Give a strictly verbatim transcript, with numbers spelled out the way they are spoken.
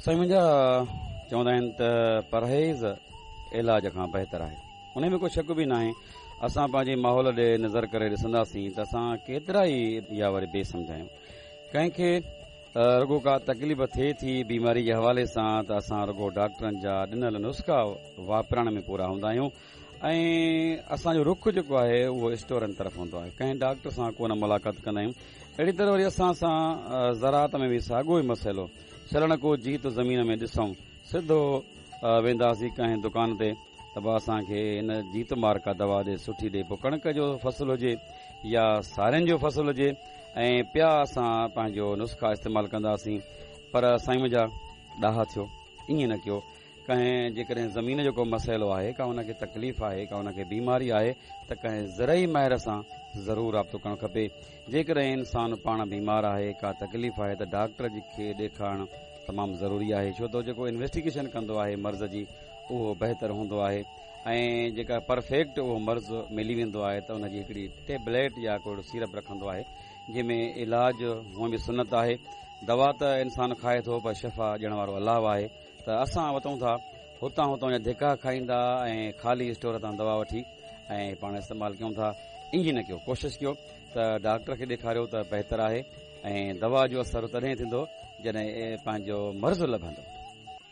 سائين منهنجا، چوندا آهن ته پرهيز علاج کان بهتر آهي، ان ۾ ڪو شڪ به ناهي. اسان پنهنجي ماحول ڏي نظر ڪري ڏسنداسين ته اسان ڪيترا ئي يا وري بي سمجهايون. ڪنهن کي رڳو ڪا تڪليف ٿئي ٿي بيماري جي حوالي سان ته اسان رڳو ڊاڪٽرن جا ڏنل نسخا واپرائڻ ۾ پورا هوندا آهيون، ۽ اسان جو رخ جيڪو آهي اهو اسٽورن طرف هوندو آهي، ڪنهن ڊاڪٽر سان ڪونه ملاقات ڪندا آهيون. اهڙي طرح وري اسان سان زراعت ۾ به ساڳيو ئي مسئلو. ڇلڻ ڪو جيت زمين ۾ ڏسون، سڌو وينداسين ڪنهن دڪان تي ته به اسان کي هن جيت مار ڪا دوا ڏي، سٺي ڏي، پوء ڪڻڪ جو فصل هجي يا سارين جو فصل هجي، ۽ پيا اسان پنهنجو نسخا استعمال ڪنداسين. پر سائين منهنجا، ڏاها ٿيو، ائين نه ڪيو. ڪنهن جيڪڏهن زمين جو ڪو مسئلو آهي، ڪا ان کي تڪليف آهي، ڪا ان کي بيماري آهي ته ڪنهن زرعي ماهر سان ضرور رابطو ڪرڻ کپي. جيڪڏهن انسان پاڻ بيمار آهي، ڪا تڪليف آهي ته ڊاڪٽر جي کي ڏيکارڻ تمام ضروري آهي، ڇو ته جيڪو انويسٽيگيشن ڪندو آهي مرض جي اهو بهتر هوندو آهي، ۽ جيڪا پرفيڪٽ اهو مرض ملي ويندو آهي ته ان جي هڪڙي ٽيبليٽ يا ڪو اهڙو سيرپ رکندو آهي، جنهن ۾ علاج هونئن به سنت آهي. دوا ته انسان کائي ٿو پر شفا ڏيڻ وارو الله آهي. ته اسان وتون ٿا هتان هتان جا ڌڪا کائيندا ۽ خالي اسٽور تان دوا وٺي ۽ پاڻ استعمال ڪيون ٿا. ائين نه ڪيو، ڪوشش ڪيو ته ڊاڪٽر کي ڏيکاريو ته بهتر آهي، ۽ دوا جو اثر تڏهن ٿيندو جڏهن پنهنجو مرض لڀندو.